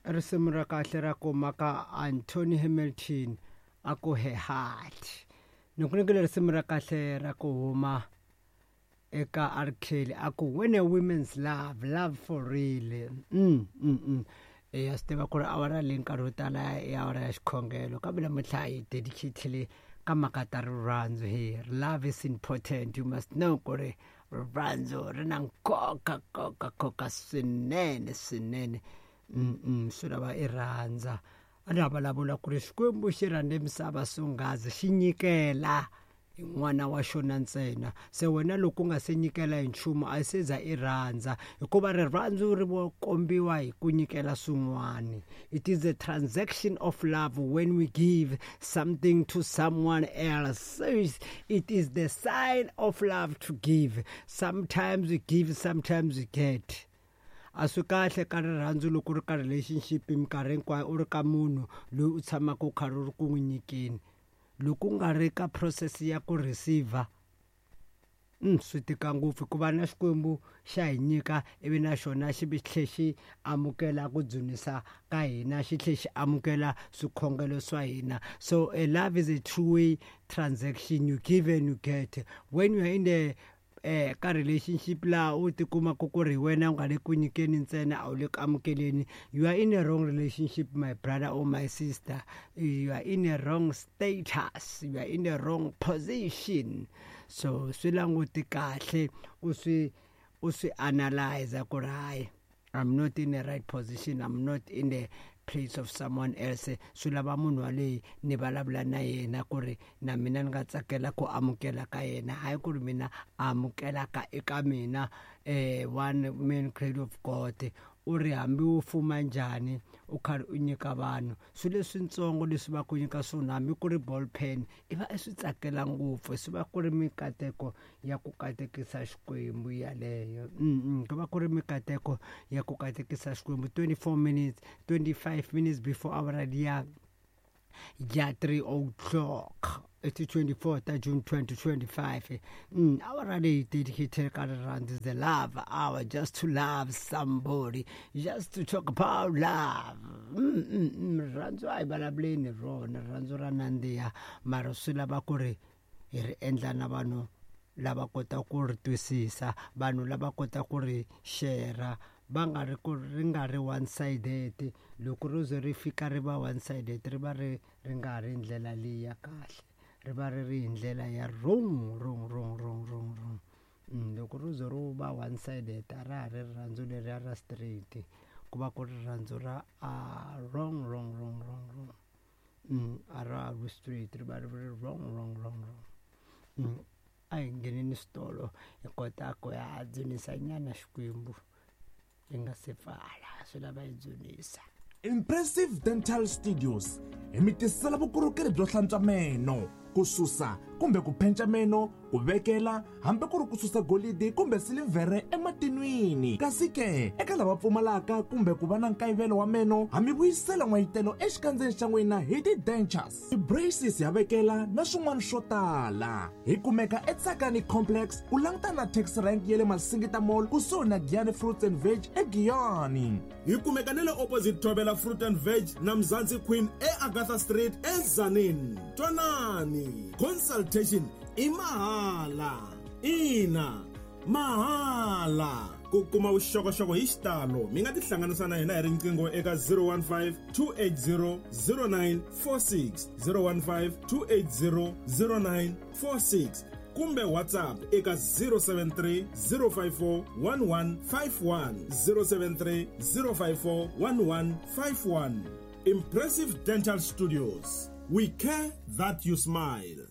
Risimu ra kahle ra kuma ka Anthony Hamilton a ku he heart. Ni ku nyikile risimu ra kahle ra ku huma eka R Kelly a ku when a women's love, love for real. Ya swi tiva ku ri awara leyi nkarhi wo tala i awara ya xikhongelo kambe namuntlha hi dedicatile ka mhaka ta rirhandzu hi love is important. You must know ku ri rirhandzu ri na nkoka nkoka nkoka swinene swinene. Swi lava i rhandza. A na vulavula ku ri Xikwembu xi rhandze misava swonghasi xi nyikela hi n'wana wa xona ntsena. Se wena loko u nga se nyikela hi nchumu a se za i rhandza, hikuva rirhandzu ri vo kombiwa hi ku nyikela swin'wana. It is a transaction of love when we give something to someone else. It is the sign of love to give. Sometimes we give, sometimes we get. A swi kahle ka rirhandzu loko u ri ka relationship minkarhi hinkwayo u ri ka munhu loyi u tshamaka u karhi u ri ku n'wi nyikeni. Loko u nga ri ka process ya ku receiver, swi tika ngopfu hikuva na Xikwembu xa hi nyika ivi na xona xi vi tlhe xi amukela ku dzunisa ka hina, xi tlhe xi amukela swikhongelo swa hina. So a love is a two way transaction, you give and you get. When you are in the ka relationship laha u tikumaka ku ri hi wena u nga le ku nyikeni ntsena a wu le ku amukeleni, you are in a wrong relationship my brother or my sister. You are in a wrong status, you are in a wrong position. So swi languti kahle u swi u swi analyze ku ri hayi, I'm not in the right position, I'm not in the place of someone else. Swi lava munhu waleyi ni vulavula na yena ku ri na mina ni nga tsakela ku amukela ka yena, hayi ku ri mina amukela ka eka mina. One man great of God u ri hambi u fuma njhani u karhi u nyika vanhu swilo leswitsongo leswi va ku nyika swona, hambi ku ri ball pen i va i swi tsakela ngopfu, swi va ku ri mikateko ya ku katekisa Xikwembu yaleyo. Ku va ku ri mikateko ya ku katekisa Xikwembu. 24 minutes, 25 minutes before hour ya 3 o'clock. It's 24 ta June 2025. Hour leyi dedicated ka rirhandzu is the love hour, just to love somebody, just to talk about love. Rirhandzu a hi vulavuleni rona, rirhandzu ra nandziha, mara swi lava ku ri hi ri endla na vanhu lava kota ku ri twisisa, vanhu lava kota ku ri share, va nga ri ku ri nga ri one sided. Loko ro ze ri fika ri va one sided, ri va ri ri nga ri ndlela leyi ya kahle, ri va ri ri hi ndlela ya wrong, wrong, wrong, wrong, wrong, wrong. Loko ro ze ro va one sided a ra ha ri rirhandzu leriya ra straight, ku va ku ri rirhandzu ra wrong, wrong, wrong, wrong, wrong. A ra ha ri straight, ri va ri ri wrong, wrong, wrong, wrong. A hi ngheneni switolo hi kota ku ya dzunisa nyana Xikwembu hi nga se pfala, swi lava hi dzunisa. Impressive Dental Studios hi mi tisela vukorhokeri byo hlantswa meno, ku susa kumbe ku phenca meno, ku vekela hambi ku ri ku susa golidi kumbe silivhere ematinwini. Kasi ke eka lava pfumalaka kumbe ku va na nkayivelo wa meno, ha mi vuyisela n'wayitelo exikandzeni xa n'wina hi ti-dentures, ti-braces ya vekela na swin'wana swo tala. Hi kumeka eTsakani Complex ku langutana na taxi rank ya le Masingita Mall kusuhi na Giyani Fruits and Veg eGiyani. Hi kumeka na le opposite Thobela Fruit and Veg na Mzansi Queen eAgatha Street eTzaneen. Twanani, consultation i mahala. Ina, mahala. Ku kuma vuxokoxoko hi xitalo mi nga tihlanganisa na hina hi riqingho eka 015 280 0946, 015 280 0946 kumbe WhatsApp eka 073 054 1151, 073 054 1151. Impressive Dental Studios, we care that you smile.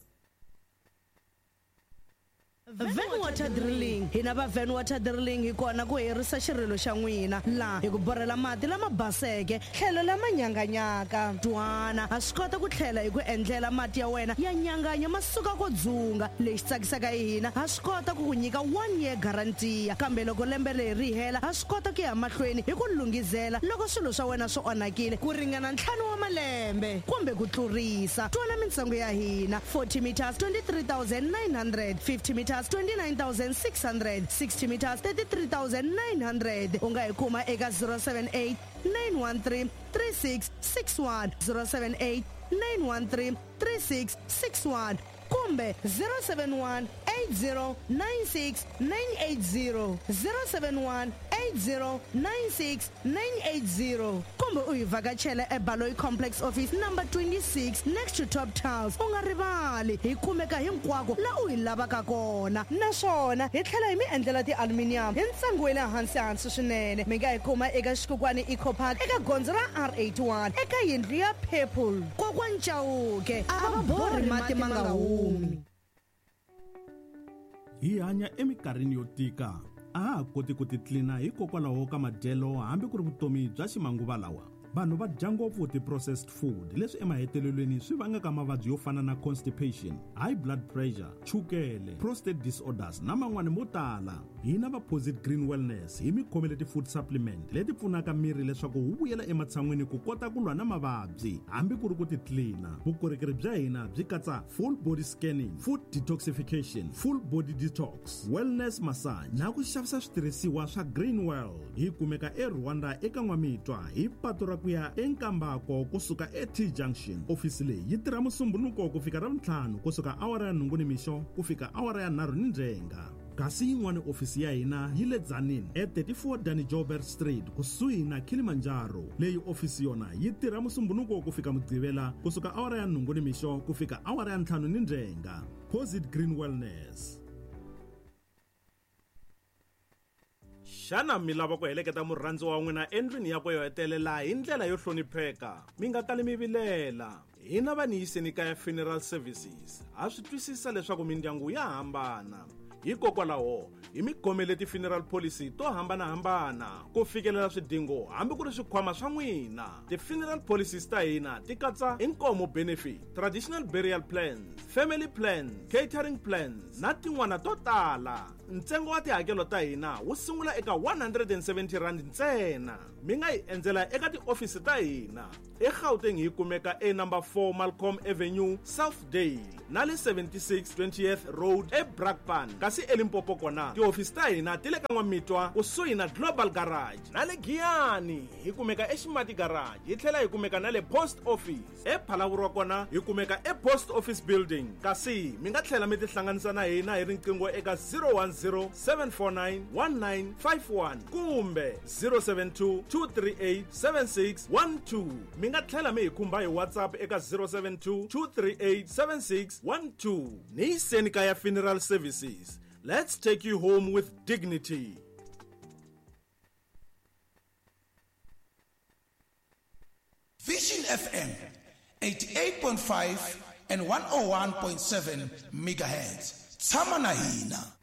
Van Water Drilling. Hina va Van Water Drilling hi kona ku herisa xirilo xa n'wina laha hi ku borhela mati lama baseke tlhelo lama nyanganyaka. Twana, ha swi kota ku tlhela hi ku endlela mati ya wena ya nyanganya ma suka ko dzunga. Lexi tsakisaka hi hina, ha swi kota ku ku nyika 1 year guarantee, kambe loko lembe leri ri hela ha swi kota ku ya mahlweni hi ku lunghizela loko swilo swa wena swi onhakile ku ringana 5 wa malembe kumbe ku tlurisa. Twana mintsengo ya hina: 40 meters 23,900, 50 meters meters 29600, 60 meters 33900. U nga hi kuma eka 078 913 3661, 078 913 3661 kumbe 071 8096 980, 071 8096 980, kumbe u hi vhakachela eBaloyi Complex, office number 26, next to Top Tiles. U nga rivali, hi kumeka hinkwako la u hi lavaka kona, naswona hi tlhela hi mi endlela ti-aluminium hi ntsengo wa le hansi hansi swinene. Mi nga hi kuma eka Xikukwani Eco Park, eka gondzo ra R81, eka yindlu ya purple. Kokwani Chauke a va borhi mati ma nga humi. Hi hanya eminkarhini yo tika. A ha ha koti ku titlina hikokwalaho ka madyelo hambi ku ri vutomi bya ximanguva lawa. Vanhu va dya ngopfu ti-processed food, leswi emahetelelweni swi vangaka mavabyi yo fana na constipation, high blood pressure, chukele, prostate disorders na man'wani mo tala. Hina va Posit Green Wellness hi mi khomele ti-food supplement leti pfunaka miri leswaku wu vuyela ematshan'wini ku kota ku lwa na mavabyi hambi ku ri ku titlina. Vukorhokeri bya hina byi katsa full body scanning, food detoxification, full body detox, wellness massage na ku xavisa switirhisiwa swa Green World. Hi kumeka eRwanda eka N'wamitwa, hi patu ra ku ya eNkambako kusuka eT Junction. Ofisi leyi yi tirha Musumbunuko ku fika Ravuntlhanu, kusuka awara ya 8 nimixo ku fika awara ya 3 nindzhenga. Kasi yin'wana ofisi ya hina yi le Tzaneen e34 Danny Joubert Street, kusuhi na Kilimanjaro. Leyi ofisi yona yi tirha Musumbunuko ku fika Mugqivela, kusuka awara ya 8 nimixo ku fika awara ya 5 nindzhenga. Posit Green Wellness. Xana mi lava ku heleketa murhandziwa wa n'wina endlwini yakwe yo hetelela hi ndlela yo hlonipheka? Mi nga kali mi vilela. Hina va Niyiseni Kaya Funeral Services ha swi twisisa leswaku mindyangu ya hambana. Hikokwalaho hi mi khomele ti-funeral policy to hambanahambana ku fikelela swidingo hambi ku ri swikhwama swa n'wina. Ti-funeral policies ta hina ti katsa inkomo benefit, traditional burial plans, family plans, catering plans na tin'wana to tala. Ntsengo wa tihakelo ta hina wu sungula eka 170 rand ntsena. Mi nga hi endzela eka tiofisi ta hina eGauteng, hi kumeka e number 4 Malcolm Avenue, Southdale, na le 76 20th Road eBrakpan. Kasi eLimpopo kona tihofisi ta hina ti le ka N'wamitwa, kusuhi na Global Garage, na le Giyani hi kumeka eXimati Garage, hi tlhela hi kumeka na le Post Office. EPhalaborwa kona hi kumeka ePost Office Building. Kasi mi nga tlhela mi tihlanganisa na hina hi riqingho eka 010 749 1951 kumbe 072 238 7612. Mi nga tlhela mi hi khumba hi WhatsApp eka 072 238 7612. Niyiseni Kaya Funeral Services. Let's take you home with dignity. Vision FM 88.5 and 101.7 megahertz. Tshama na hina.